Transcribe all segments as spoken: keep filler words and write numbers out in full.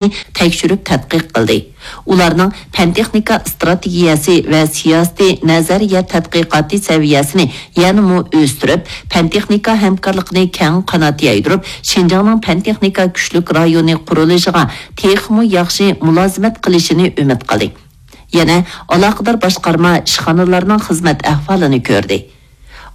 تەكشۈرۈپ تەتقىق قىلدى. ئۇلارنىڭ پەن-تېخنىكا ئىستراتېگىيەسى ۋە سىياسىتى، نەزەرىيە تەتقىقاتى سەۋىيەسىنى يەنىمۇ ئۆستۈرۈپ، پەن-تېخنىكا ھەمكارلىقىنى كەڭ قانات يايدۇرۇپ، شىنجاڭنىڭ پەن-تېخنىكا كۈچلۈك رايونى قۇرۇلۇشىغا تېخىمۇ ياخشى مۇلازىمەت قىلىشىنى ئۈمىد قىلدى. يەنە ئالاقىدار باشقارما، ئىشخانىلارنىڭ خىزمەت ئەھۋالىنى كۆردى.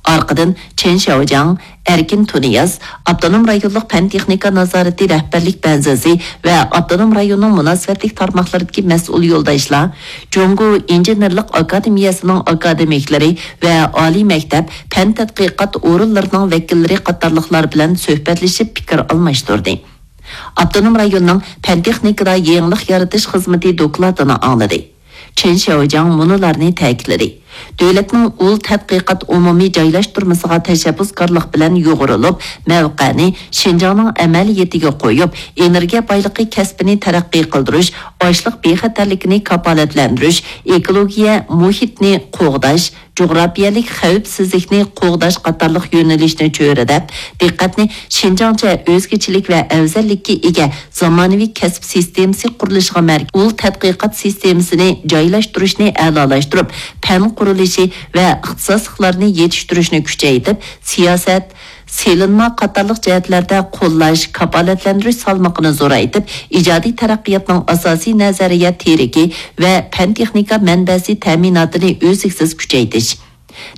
ئارقىدىن چېن شياۋجياڭ، ئەركىن تۇنىياز، ئاپتونوم رايونلۇق پەن-تېخنىكا نازارىتى رەھبەرلىك بەنزىسى ۋە ئاپتونوم رايوننىڭ مۇناسىۋەتلىك تارماقلىرىدىكى مەسئۇل يولداشلار، جۇڭگو ئىنژېنېرلىق ئاكادېمىيەسىنىڭ ئاكادېمىكلىرى ۋە ئالىي مەكتەپ، پەن تەتقىقات ئورۇنلىرىنىڭ ۋەكىللىرى قاتارلىقلار بىلەن سۆھبەتلىشىپ پىكىر ئالماشتۇردى. ئاپتونوم رايوننىڭ پەن-تېخنىكىدا يېڭىلىق يارىتىش خىزمىتى دوكلاتىنى ئاڭلىدى. چېن شياۋجياڭ مۇنۇلارنى تەكىتلىدى: دۆلەتنىڭ ئۇل تەتقىقات ئومۇمىي جايلاشتۇرمىسىغا تەشەببۇسكارلىق بىلەن يۇغۇرۇلۇپ، مەۋقەنى شىنجاڭنىڭ ئەمەلىيىتىگە قويۇپ، ئېنېرگىيە بايلىقى كەسپىنى تەرەققىي قىلدۇرۇش، ئاشلىق بىخەتەرلىكىنى كاپالەتلەندۈرۈش، ئېكولوگىيە مۇھىتنى قوغداش، جۇغراپىيەلىك خەۋپسىزلىكنى قوغداش قاتارلىق يۆنىلىشنى چۆرىدەپ، دىققەتنى شىنجاڭچە ئۆزگىچىلىك ۋە ئەۋزەللىككە ئىگە زامانىۋى كەسىپ سىستېمىسى قۇرۇلۇشىغا مەركەز ئۇل تەتقىقات سىستېمىسىنى جايلاشتۇرۇشنى ئەلالاشتۇرۇپ، پەن قۇرۇلۇشى ۋە ئىختىساسلىقلارنى يېتىشتۈرۈشنى كۈچەيتىپ، سىياسەت، سېلىنما قاتارلىق جەھەتلەردە قوللاش، كاپالەتلەندۈرۈش سالمىقىنى زورايتىپ، ئىجادىي تەرەققىياتنىڭ ئاساسىي نەزەرىيە تىرىكى ۋە پەن-تېخنىكا مەنبەسى تەمىناتىنى ئۈزلۈكسىز كۈچەيتىش.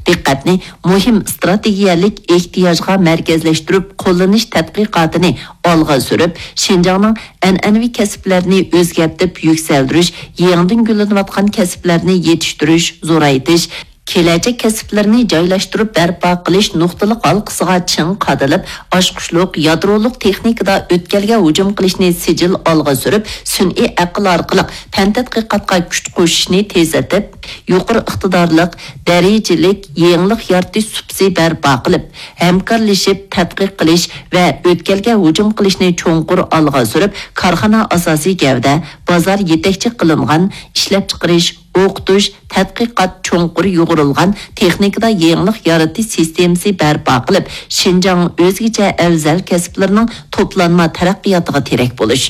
دىققەتنى مۇھىم ئىستراتېگىيەلىك ئېھتىياجغا مەركەزلەشتۈرۈپ، قوللىنىش تەتقىقاتىنى ئالغا سۈرۈپ، شىنجاڭنىڭ ئەنئەنىۋى كەسىپلەرنى ئۆزگەرتىپ يۈكسەلدۈرۈش، يېڭىدىن گۈللىنىۋاتقان كەسىپلەرنى يېتىشتۈرۈش، زورايتىش، كېلەچەك كەسىپلىرىنى جايلاشتۇرۇپ بەرپا قىلىش نۇقتىلىق ھالقىسىغا چىڭ قادىلىپ، ئاچقۇچلۇق يادرولۇق تېخنىكىدا ئۆتكەلگە ھۇجۇم قىلىشنى سىجىل ئالغا سۈرۈپ، سۈنئىي ئەقىل ئارقىلىق پەن تەتقىقاتقا كۈچ قوشۇشنى تېزلىتىپ، يۇقىرى ئىقتىدارلىق، دەرىجىلىك يېڭىلىق يارىتىش سۇپىسى بەرپا قىلىپ، ھەمكارلىشىپ تەتقىق قىلىش ۋە ئۆتكەلگە ھۇجۇم قىلىشنى چوڭقۇر ئالغا سۈرۈپ، كارخانا ئاساسىي گەۋدە، بازار يېتەكچى قىلىنغان ئىشلەپچىقىرىش، ئوقۇتۇش، تەتقىقات چوڭقۇر يۇغۇرۇلغان تېخنىكىدا يېڭىلىق يارىتىش سىستېمىسى بەرپا قىلىپ، شىنجاڭ ئۆزگىچە ئەۋزەل كەسىپلىرىنىڭ توپلانما تەرەققىياتىغا تىرەك بولۇش.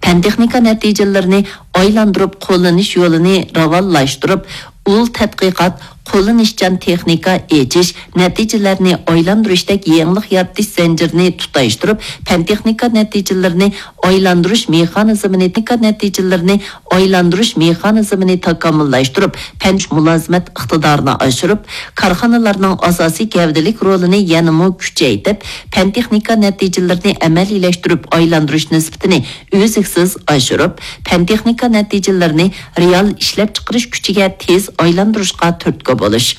پەن-تېخنىكا نەتىجىلىرىنى ئايلاندۇرۇپ قوللىنىش يولىنى راۋانلاشتۇرۇپ، ئۇل تەتقىقات، قوللىنىشچان تېخنىكا ئېچىش، نەتىجىلەرنى ئايلاندۇرۇشتەك يېڭىلىق يارىتىش زەنجىرىنى تۇتاشتۇرۇپ، پەن-تېخنىكا نەتىجىلىرىنى ئايلاندۇرۇش مېخانىزمىنى، تېخنىكا نەتىجىلىرىنى ئايلاندۇرۇش مېخانىزمىنى تاكامۇللاشتۇرۇپ، پەن مۇلازىمەت ئىقتىدارىنى ئاشۇرۇپ، كارخانىلارنىڭ ئاساسىي گەۋدىلىك رولىنى يەنىمۇ كۈچەيتىپ، پەن-تېخنىكا نەتىجىلىرىنى ئەمەلىيلەشتۈرۈپ ئايلاندۇرۇش نىسبىتىنى ئۈزلۈكسىز ئاشۇرۇپ، پەن-تېخنىكا نەتىجىلىرىنى رېئال ئىشلەپچىقىرىش كۈچىگە تېز ئايلاندۇرۇشقا تۈرتكە بولۇش.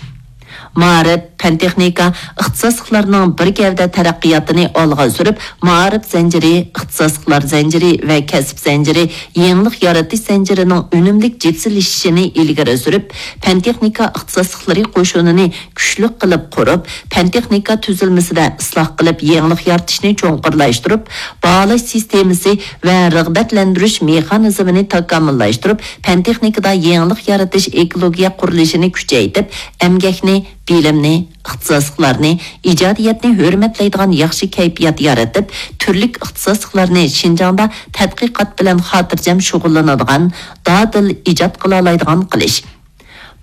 مائارىپ، پەن-تېخنىكا ئىختىساسلىقلارنىڭ بىر گەۋدە تەرەققىياتىنى ئالغا سۈرۈپ، مائارىپ زەنجىرى، ئىختىساسلىقلار زەنجىرى ۋە كەسىپ زەنجىرى يېڭىلىق يارىتىش زەنجىرىنىڭ ئۈنۈملۈك جىپسىلىشىشىنى ئىلگىرى سۈرۈپ، پەن-تېخنىكا ئىختىساسلىقلىرى قوشۇنىنى كۈچلۈك قىلىپ قۇرۇپ، پەن-تېخنىكا تۈزۈلمىسىدە ئىسلاھ قىلىپ، يېڭىلىق يارىتىشنى چوڭقۇرلاشتۇرۇپ، باھالاش سىستېمىسى ۋە رىغبەتلەندۈرۈش مېخانىزمىنى تاكامۇللاشتۇرۇپ، پەن-تېخنىكىدا يېڭىلىق يارىتىش ئېكولوگىيە قۇرۇلۇشىنى كۈچەيتىپ، ئەمگەكنى، بىلىمنى، ئىختىساسلىقلارنى، ئىجادىيەتنى ھۆرمەتلەيدىغان ياخشى كەيپىيات يارىتىپ، تۈرلۈك ئىختىساسلىقلارنى شىنجاڭدا تەتقىقات بىلەن خاتىرجەم شۇغۇللىنىدىغان، دادىل ئىجاد قىلالايدىغان قىلىش.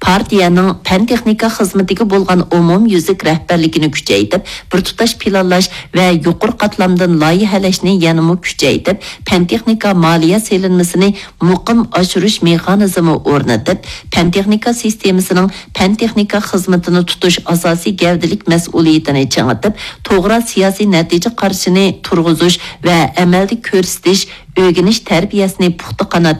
پارتىيەنىڭ پەن-تېخنىكا خىزمىتىگە بولغان ئومۇميۈزلۈك رەھبەرلىكىنى كۈچەيتىپ، بىر تۇتاش پىلانلاش ۋە يۇقىرى قاتلامدىن لايىھەلەشنى يەنىمۇ كۈچەيتىپ، پەن-تېخنىكا مالىيە سېلىنمىسىنى مۇقىم ئاشۇرۇش مېخانىزمى ئورنىتىپ، پەن-تېخنىكا سىستېمىسىنىڭ پەن-تېخنىكا خىزمىتىنى تۇتۇش ئاساسىي گەۋدىلىك مەسئۇلىيىتىنى چىڭىتىپ، توغرا سىياسىي نەتىجە قارىشىنى تۇرغۇزۇش ۋە ئەمەلدە كۆرسىتىش، ئۆگىنىش تەربىيەسىنى پۇختا قانات